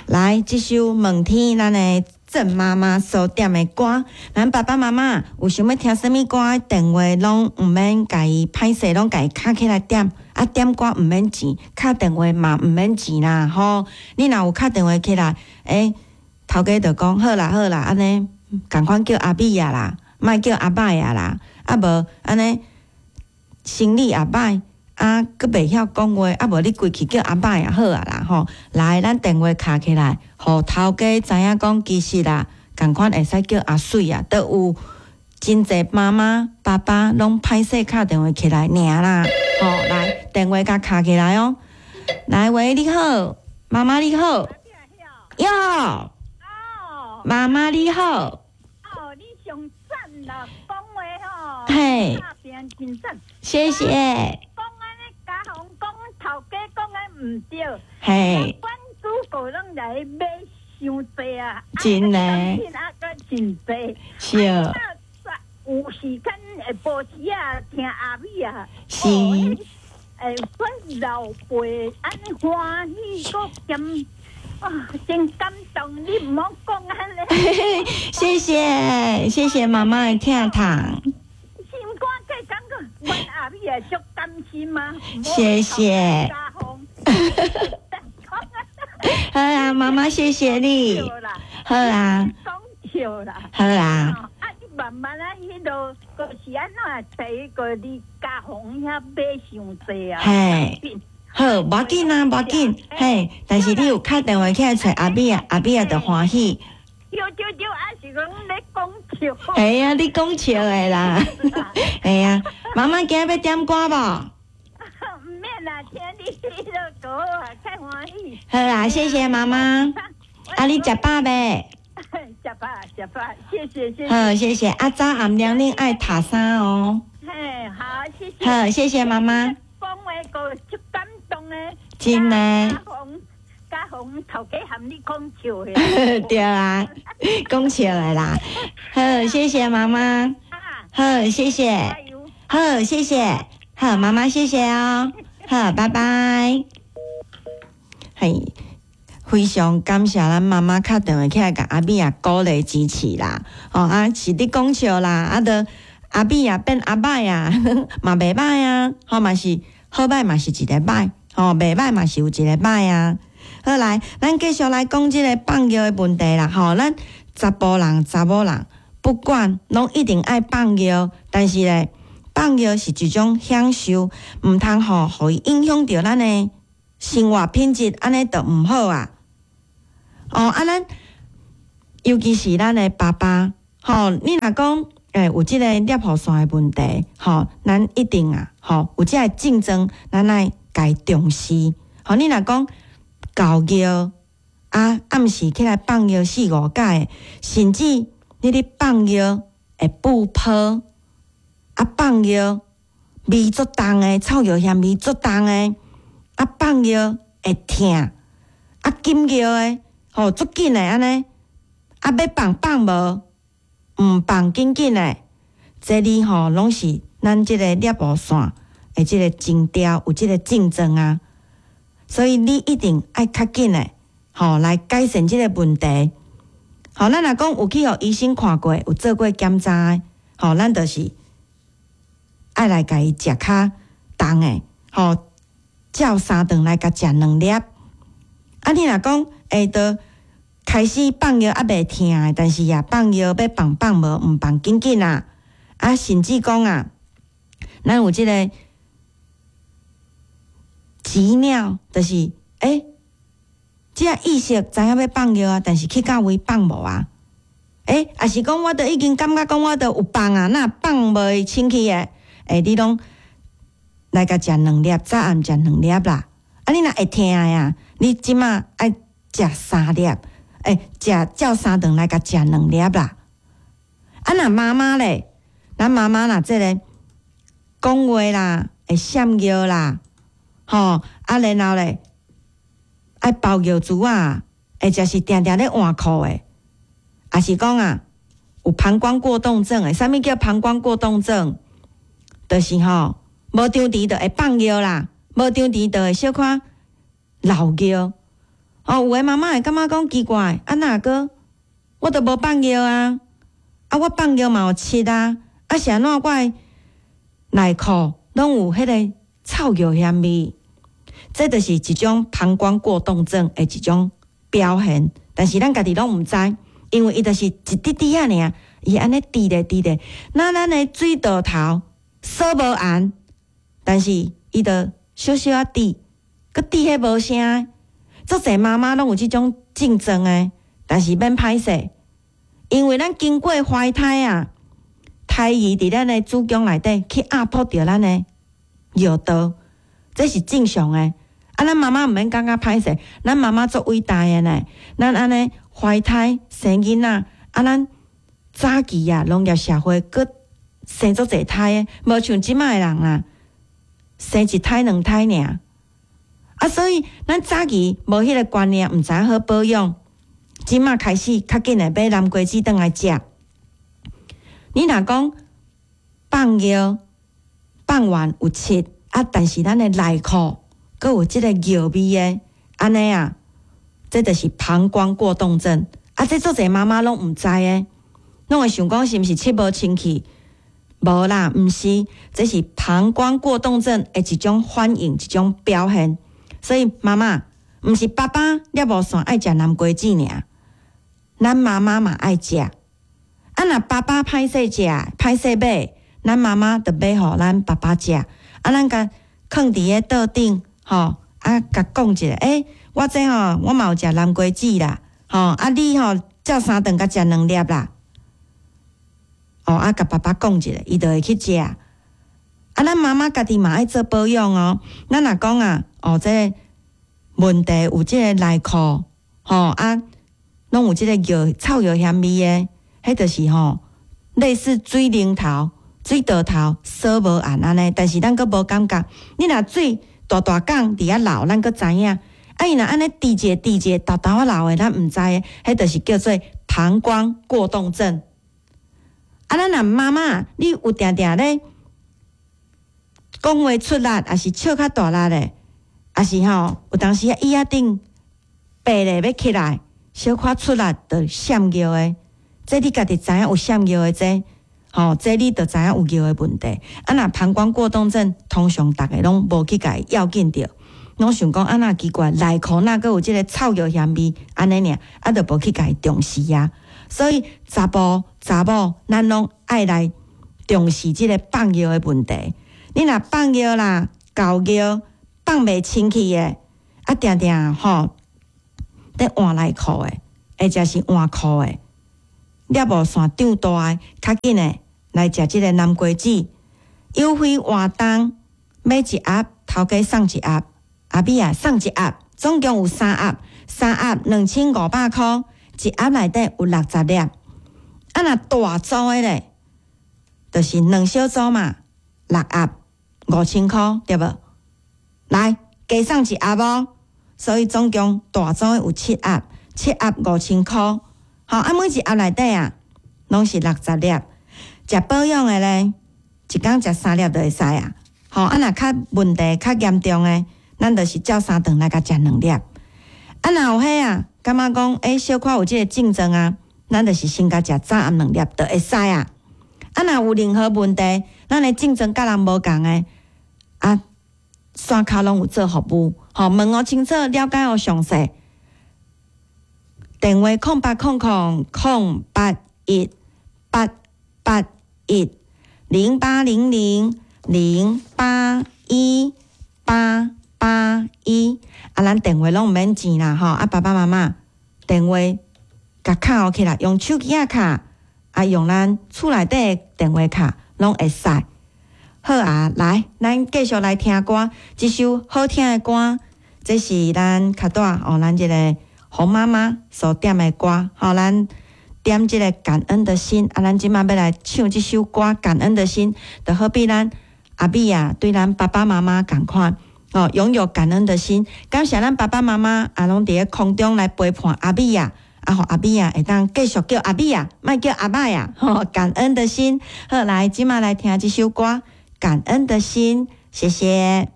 來，這首《問天》咱的鄭媽媽所點的歌，咱爸爸媽媽有想欲聽啥物歌，電話攏毋免共伊歹勢，攏共伊敲起來點。啊，點歌毋免錢，敲電話嘛毋免錢啦，吼！你若有敲電話起來，欸，頭家就講好啦好啦，按呢仝款叫阿美仔啦，莫叫阿歹仔啦，啊無按呢生理也歹，啊，閣袂曉講話，啊無你規氣叫阿歹仔好啊啦，吼！來，咱電話敲起來，予頭家知影講其實啦，仝款會使叫阿媠啊，都有真濟媽媽爸爸攏歹勢敲電話起來爾啦，吼！來，電話共敲起來哦。來，喂，你好，媽媽你好，喲，媽媽你好，哦，你上讚啦，講話吼，嘿，真讚，謝謝。講按呢，家訪講頭家講的毋對，嘿，阮主顧攏來買傷濟啊，真的，啊，閣真濟，是。有時間下晡時啊，聽阿美啊，是。欸，阮老輩按呢歡喜，閣兼啊，真感動。你毋好講按呢。謝謝，謝謝媽媽的疼痛。心肝計感覺，阮阿美也足擔心啊。謝謝。好啊，媽媽，謝謝你。好啊。講笑啦。好啊。啊，你慢慢啊，彼落閣是按怎？第一個你家訪遐買傷濟啊。嘿。好，無要緊啊，無要緊。嘿，但是你有敲電話起來揣阿美啊，阿美啊就歡喜。對對對，啊是講咧講笑。係啊，你講笑的啦。係啊，媽媽今仔欲點歌無？毋免啦，聽你彼落歌啊，較歡喜。好啦，謝謝媽媽。啊，你食飽未？食飽食飽，謝謝謝謝。好，謝謝。啊，早暗涼恁愛貼衫哦。嘿，好，謝謝。好，謝謝媽媽。講話閣足感動的。真的。家訪家訪頭家含你講笑的。對啊，講笑的啦。好，謝謝媽媽。好，謝謝。好，謝謝。好，媽媽謝謝哦。好，拜拜。嘿，非常感謝咱媽媽敲電話起來共阿美仔鼓勵支持啦。哦啊，是咧講笑啦，啊，著阿美仔變阿歹啊，嘛袂歹啊，吼嘛是好歹嘛是一个歹，吼袂歹嘛是有一個歹啊。好來，咱繼續來講這個放尿的問題啦。吼，咱查埔人、查某人，不管攏一定愛放尿，但是咧，放尿是一種享受，毋通吼，予伊影響著咱的生活品質，按呢就毋好啊。哦，啊，咱尤其是咱的爸爸，吼，你若講欸有這個攝護腺的問題，吼，咱一定啊，吼，有這个症狀，咱愛共伊重視。吼，你若講厚尿啊，暗時起來放尿四五擺，甚至你咧放尿會布泡，啊放尿味足重的，臭尿嫌味足重的，啊放尿會疼，啊緊尿的，吼足緊的按呢，啊欲放放無，毋放緊緊的，這裡吼攏是咱這個攝護腺的這個徵兆，有這個症狀啊，所以你一定愛較緊的，吼來改善這個問題。吼，咱若講有去予醫生看過，有做過檢查的，吼，咱就是愛來共伊食較重的，吼，照三頓來共食兩粒。啊，你若講會著開始放尿猶袂疼的，但是啊，放尿欲放放無，毋放緊緊啊，啊，甚至講啊，咱有這個急尿，就是欸，這個意識知影欲放尿啊，但是去到位放無啊？欸，抑是講我都已經感覺講我都有放啊，哪放袂清氣的？欸，你攏來共食兩粒，早暗食兩粒啦。啊，你若會疼的啊，你這馬愛食三粒，欸，食照三頓來共食兩粒啦。啊，若媽媽咧，咱媽媽若這個講話啦，會閃尿啦，吼，啊，然後咧，愛包尿珠仔，或者是定定咧換褲的，抑是講啊，有膀胱過動症的，啥物叫膀胱過動症？就是吼，無張弛就會放尿啦，無張弛就會小可漏尿。哦，有的媽媽會感覺講奇怪，啊若閣我都無放尿啊，啊我放尿嘛有溼啊，啊是按怎我的內褲攏有彼个臭尿腥味？這就是一種膀胱過動症的一種表現，但是咱家己攏毋知，因為伊就是一滴滴仔爾，伊按呢滴咧滴咧，那咱的水道頭鎖無絚，但是伊就小小仔滴，閣滴彼無聲。足濟媽媽攏有這種症狀的，但是免歹勢，因為咱經過懷胎啊，胎兒佇咱的子宮內底去壓迫著咱的尿道，這是正常的。啊，咱媽媽毋免感覺歹勢，咱媽媽足偉大的呢。咱按呢懷胎生囡仔，啊，咱早期啊，農業社會閣生足濟胎的，無像這擺的人啊，生一胎兩胎爾。啊，所以咱早期無彼个觀念，毋知影好保養。這擺開始較緊的買南瓜子轉來食。你若講放尿放完有溼啊，但是咱的內褲閣有這个尿味的，按呢啊，這就是膀胱過動症。啊，這足濟媽媽攏毋知的，攏會想講是毋是溼無清氣？無啦，毋是，這是膀胱過動症的一種反應，一種表現。所以媽媽，毋是爸爸尿無線愛食南瓜子爾，咱媽媽嘛愛食。啊，若爸爸歹勢食，歹勢買，咱媽媽就買予咱爸爸食。啊，咱共囥佇咧桌頂，吼，啊，共講一下，欸，我這吼，我嘛有食南瓜子啦，吼，啊，你吼，照三頓共食兩粒啦。哦，啊，共爸爸講一下，伊就會去食。啊，咱媽媽家己嘛愛做保養哦。咱若講啊，哦，這個問題有這個內褲，吼啊，攏有這個尿臭尿腥味的，彼就是吼類似水龍頭、水道頭鎖無絚按呢，但是咱閣無感覺。你若水大大管佇遐流，咱閣知影。啊，伊若按呢滴一下滴一下，沓沓仔流的，咱毋知的，彼就是叫做膀胱過動症。啊，咱若媽媽，你有定定咧講話出力，抑是笑較大力咧，抑是吼有當時啊椅仔頂爬咧欲起來，小可出力就閃尿的，這你家己知影有閃尿的這，吼，這你就知影有尿的問題。啊，若膀胱過動症，通常逐个攏無去共伊要緊著，攏想講啊若奇怪，內褲哪閣有這个臭尿腥味，按呢爾，啊，就無去共伊重視啊。所以查埔查某，咱攏愛來重視這个放尿的問題。你若放尿啦、厚尿放袂清氣的，啊，定定吼佇換內褲的，或者是換褲的，尿無線長大的，較緊的來食這个南瓜子。優惠活動，買一盒頭家送一盒，阿美啊送一盒，總共有三盒，三盒2500箍，一盒內底有60粒。啊，若大組的咧，就是兩小組嘛，六盒5000箍，對無？來加送一盒哦，所以總共大組的有七盒，七盒5000箍。好，啊，每一盒內底啊，攏是60粒。食保養的咧，一工食三粒就會使啊。吼，啊，若較問題較嚴重的，咱就是照三頓來共食兩粒。啊，若有彼啊，感覺講欸，小可有這个症狀啊，咱就是先共食早暗兩粒就會使啊。啊，若有任何問題，咱的症狀佮人無仝的，啊，山跤攏有做服務，吼，問予清楚，了解予詳細。電話0800 008 18810800081881。啊，咱電話攏毋免錢啦，吼！啊，爸爸媽媽電話共敲起來，用手機仔敲，啊，用咱厝內底的電話敲，攏會使。好啊，來，咱繼續來聽歌，這首好聽的歌，這是咱較大哦，咱這个洪媽媽所點的歌，吼，咱點這个感恩的心，啊，咱這擺欲來唱這首歌《感恩的心》，就好比咱阿美啊，對咱爸爸媽媽仝款，哦，擁有感恩的心，感謝咱爸爸媽媽啊，攏佇咧空中來陪伴阿美啊，啊，予阿美啊會當繼續叫阿美啊，莫叫阿歹啊，吼，感恩的心，好，來，這擺來聽這首歌《感恩的心》，謝謝。